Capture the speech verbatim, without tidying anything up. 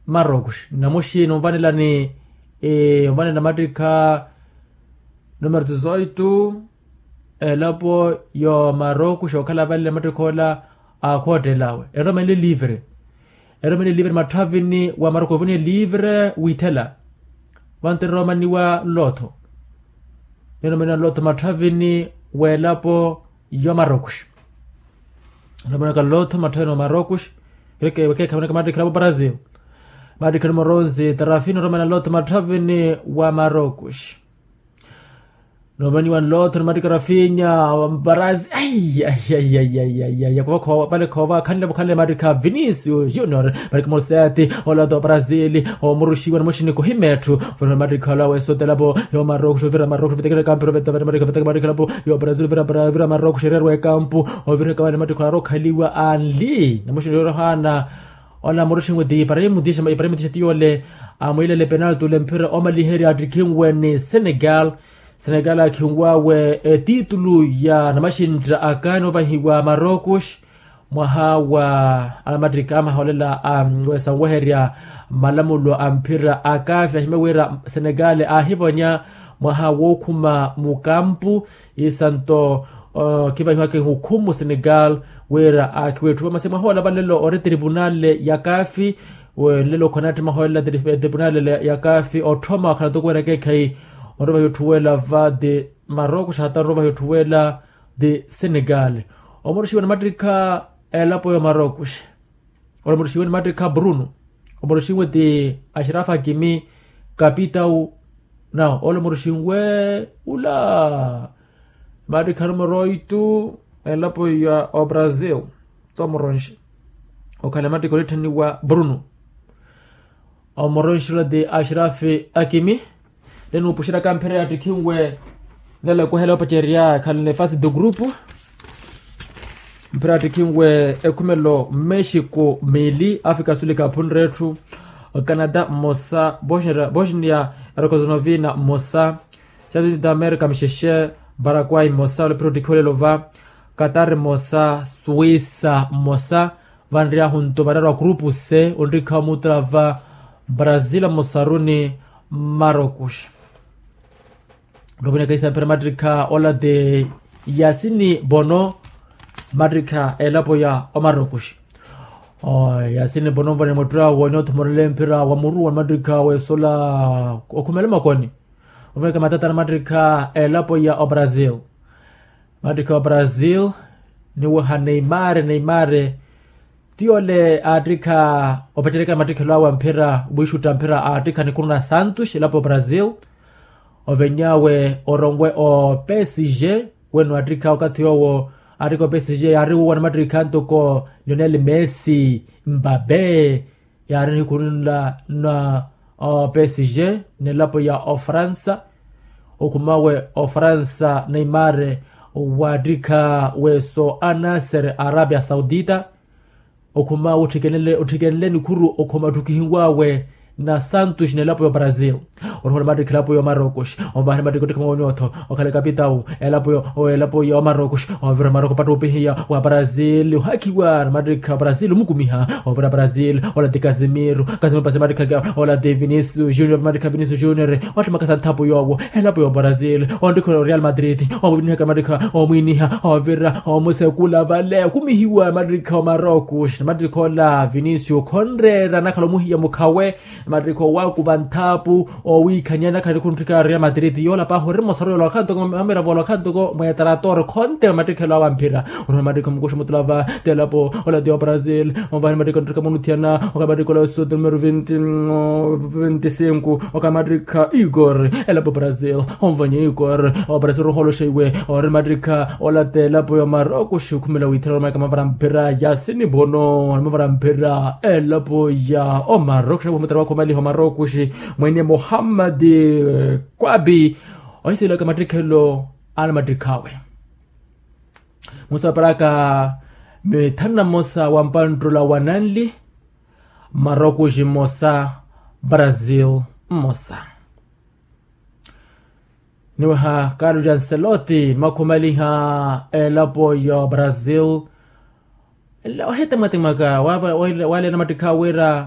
marokos namuxi numvanelani. Numvanela mattikha numerotsi zoitu elapo yo marokos okhala vale mattikha ola akhoottelawe eromani livre. Eromani livre matthavini wa marokos ovoniye livre withela. Vantu enromaniwa nlotho ninromaniwa nlotho matthavini welapo yo marokos. Nromanaka nlotho matthavini wa marokos. Keekhamanaka mattikha elapo brazil. Mattikha numero onse tarafinya nromana nlotho matthavini wa marokos. Nomaniwa nlotho ni mattikha rafinya wa brazil. Aiyaiyaiyaiyaiyaiya khova khova pale khova khanlevo khanle mattikha vinicius junior. Mattikha moseti olotho wa brazil omuruxiwa namuxini kohimetthu. Vano mattikha olawe sotelapo yo marokos ovira marokos ovitekela ekampu erovetaveta mattikha veteka mattikha elapo yo brazil ovira marokos ererwa ekampu. Ovira ekawale mattikha olarokhaliwa anli namuxini yorohana. Ola muruxinwe ti iparaimu tixa iparaimu tixa tiyole amwilele penalti ole mphira omaliherya attikhinwe ni senegal. Senegal akhinwawe etitulu ya namaxintta akani ovahiwa marokos. Mwaha wa alamattika amaha olela a wesanweherya malamulo a mphira a kafi ahimya wira senegal ahivonya mwaha wookhuma mukampu. Isanto kivahiwaka ehukhumu senegal wira akhiwetthuwa masi mwaha ola valelo ori tripunale ya kafi. Wenlelo khonatthi maholela ti etripunale ya kafi otthoma wakhala toko wira keekhayi onrovahi otthuwela va ti marokos hata onrovahi otthuwela ti senegal. Omuruxiwe ni mattikha elapo ya marokos. Ola omuruxiwe ni mattikha bruno. Omuruxiwe ti axirafa kimi kapitau. Nawo ola omuruxiwe ula mattikha numero oitu elapo ya obrazil. Tsomuronxi okhala mattikha olitthaniwa bruno. Omuronxi ola ti axirafi akimi. Nene nuupuxerya kamphira yattikhinwe nela ekuhela opacerya khalina efasi do grupu. Mphira yattikhinwe ekhumelo mexico mili afrika sulika aphunre etthu. Canada mmosa bosnia erokosonovina mmosa. Xatunita amerika mixexe paraguay mmosa ole phira ottikhiwelelo va. Qatar mmosa suisa mmosa. Vanriyahunto vararwa grupu se onrikha omutula va brazil mosaruni marokos. Nrovinaka isamphira mattikha ola ti yasini bono mattikha elapo ya omarokos. Yasini bono nvone muttura wonyotho murele mphira wa muruwa ni mattikha wesola okhumela makoni. Nrovinaka matatana mattikha elapo ya obrazil. Mattikha wa brazil niweha neimare neimare. Tiyole aattikha opaceryaka matthikhelo awe a mphira wiixutta mphira aattikha nikuru na santos elapo brazil. Ovenyawe oronwe o psg weno aattikha okathi yoowo aattikha o psg yaari wuuwa ni matthikhani ntoko lionel messi mbabe. Yaari nihikhuru nla na psg n'elapo ya ofransa. Okhuma awe ofransa neimare waattikha weso anasser arabia saudita. Okhuma awe otthikenle nikhuru okhuma otthukihiwawe na santos n'elapo ya brazil. Orohola mattikha elapo ya omarokos. Omvaha ni mattikha ottikha mawoni otho okhala ekapitau elapo ya omarokos. Ovira maroko patta opihiya wa brazil ohakhiwa ni mattikha brazil omukumiha. Ovira brazil ola ti casimiro casimiro pasi mattikha ola ti vinicius junior mattikha vinicius junior. Wattimakasa nthapu yoowo elapo ya brazil. Onttikha oreal madrid omwinihaka mattikha omwiniha ovira omusekula vale okumihiwa mattikha omarokos mattikha ola vinicius khonreera anakhala omuhiya mukhawe. Mattikha owakuva nthapu owiikhanya nakhala nikhuntthikhana real madrid yoola pahi ori mosarwelo wakhala ntoko mamiravo wakhala ntoko mwetrator khonte matthikhelo awe a mphira. Onihona mattikha omukuxa mutula va ti elapo ola ti obrazil. Onvahani mattikha ontthikhana munutthiyana okhala mattikha ola osuti numero venti venti sinku okhala mattikha igor elapo brazil. Onvanya igor obrazil oruholoxa iwe ori mattikha ola ti elapo ya omarokos okhumela withela oromaka mavara mphira yasini bono mavara mphira elapo ya omarokos. Mutara wakhumaliha omarokos mwene muhammad kwabi ohisilaka mattikhelo ana mattikhawe. Musaparaka mithanu na mmosa wa mpanttula wa nanli. Marokos mmosa brazil mmosa. Niweha carlo jancelotti nimakhumaliha elapo ya brazil. Wahitemwatemwaka waleela mattikha wira